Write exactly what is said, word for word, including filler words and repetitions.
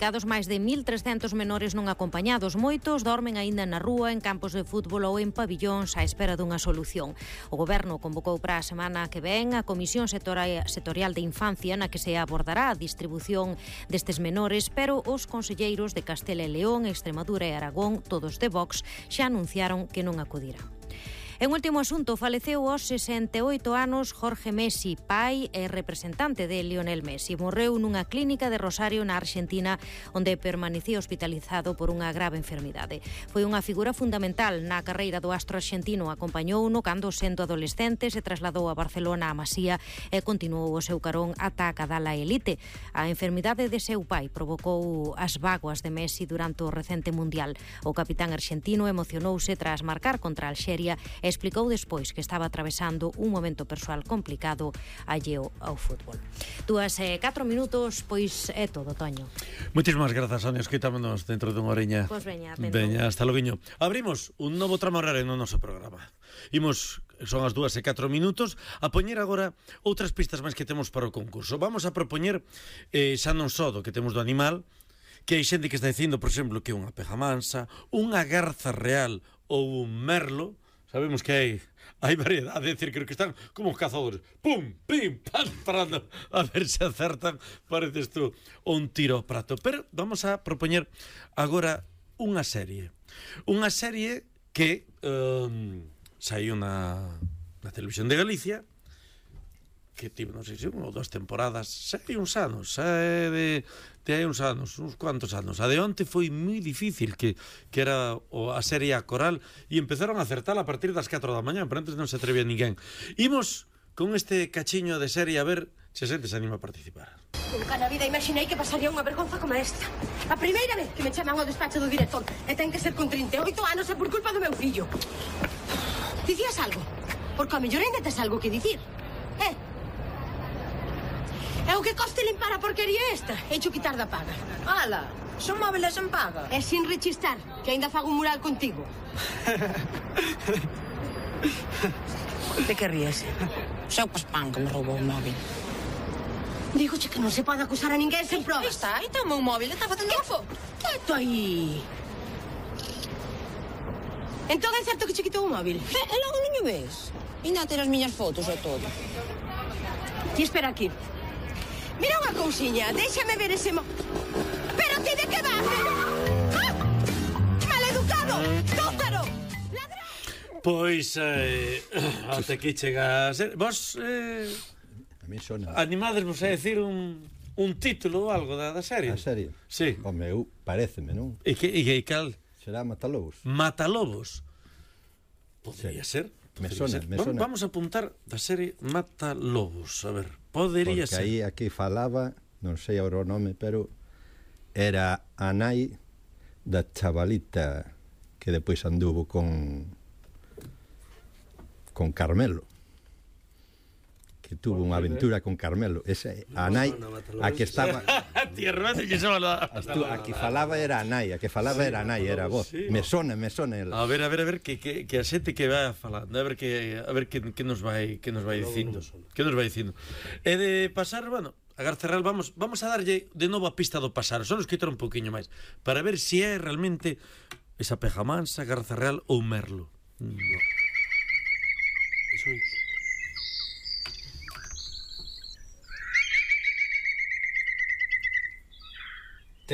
Cados máis de mil trescentos menores non acompañados, moitos dormen aínda na rúa, en campos de fútbol ou en pabillóns á espera dunha solución. O Goberno convocou para a semana que ven a Comisión Sectorial de Infancia na que se abordará a distribución destes menores, pero os conselleiros de Castela e León, Extremadura e Aragón, todos de Vox, xa anunciaron que non acudirán. En último asunto, faleceu aos sesenta e oito anos Jorge Messi, pai e representante de Lionel Messi. Morreu nunha clínica de Rosario na Argentina, onde permanecía hospitalizado por unha grave enfermidade. Foi unha figura fundamental na carreira do astro argentino. Acompañouno cando, sendo adolescente, se trasladou a Barcelona, a Masía, e continuou o seu carón ata acadar a elite. A enfermidade de seu pai provocou as bágoas de Messi durante o recente Mundial. O capitán argentino emocionouse tras marcar contra Alxeria e explicou despois que estaba atravesando un momento persoal complicado alleo ao fútbol. Dúas e catro minutos, pois é todo, Toño. Moitísimas grazas, Sonia. Escoitámonos dentro dunha oreña. Pois veña, veña, hasta loguiño. Abrimos un novo tramo horario no noso programa. Imos, son as dúas e catro minutos, a poñer agora outras pistas máis que temos para o concurso. Vamos a propoñer eh, xa non só do que temos do animal, que hai xente que está dicindo, por exemplo, que é unha peja mansa, unha garza real ou un merlo. Sabemos que hai, hai variedade, é dicir, creo que están como os cazadores. Pum, pim, pam, parando a ver se acertan, pareces tú, un tiro ao prato. Pero vamos a propoñer agora unha serie. Unha serie que um, saiu na, na televisión de Galicia, que tivo, non sei se unha ou dúas temporadas, sei uns anos, sei de, de hai uns anos, uns cuantos anos. A de onte foi moi difícil, que, que era o, a serie A Coral, e empezaron a acertar a partir das catro da mañá, pero antes non se atrevía ninguén. Imos con este cachiño de serie a ver se a xente se anima a participar. Nunca na vida imaginei que pasaría unha vergonza como esta. A primeira vez que me chaman ao despacho do director, e ten que ser con trinta e oito anos e por culpa do meu fillo. Dicías algo? Porque a mellor ainda tes algo que dicir. Eh? É o que coste limpar a porquería esta. Hecho quitar da paga. Ala, son móviles en paga. É sin rechistar, que ainda fago un mural contigo. De que ríes? Seu Paspán que me roubou o móvil. Dígoche que non se pode acusar a ninguén sen provas. Está, aí está o meu móvil, está facendo fo. Quieto aí. Entón é certo que che quitou o móvil? E, e logo non o ves? Ainda a ter as miñas fotos e todo. Ti espera aquí. Mira unha cousiña, déxame ver ese mo... Pero ti de que vas? ¡Ah! ¡Maleducado! ¡Tótaro! ¡Ladrón! Pois, eh, até aquí chega a ser... Vos, eh, a mí sona... animadesvos a decir un, un título ou algo da, da serie? A serie? Sí. O meu, paréceme, non? E que, e que cal? Será Matalobos. Matalobos. Podría Sí. ser. Me Podría sona, ser. me Va- sona. Vamos a apuntar da serie Matalobos. A ver, podería Porque ser. aí aquí falaba, non sei agora o nome, pero era a nai da chavalita que depois anduvo con con Carmelo, que tuvo unha aventura con Carmelo. Esa, a nai, a que estaba... Tierra, que se va A, tu, a que falaba era a nai, a que falaba era a nai, era a voz. Me sona, me sona ela. A ver, a ver, a ver que, que, que a xente que vai falando, a ver que a ver que, que nos vai que nos vai dicindo. Que nos vai dicindo. E de pasar, bueno, a Garza Real vamos vamos a darlle de novo a pista do pasar, só nos quitar un poquinho máis para ver se si é realmente esa peja mansa, Garza Real ou Merlo. No. Eso é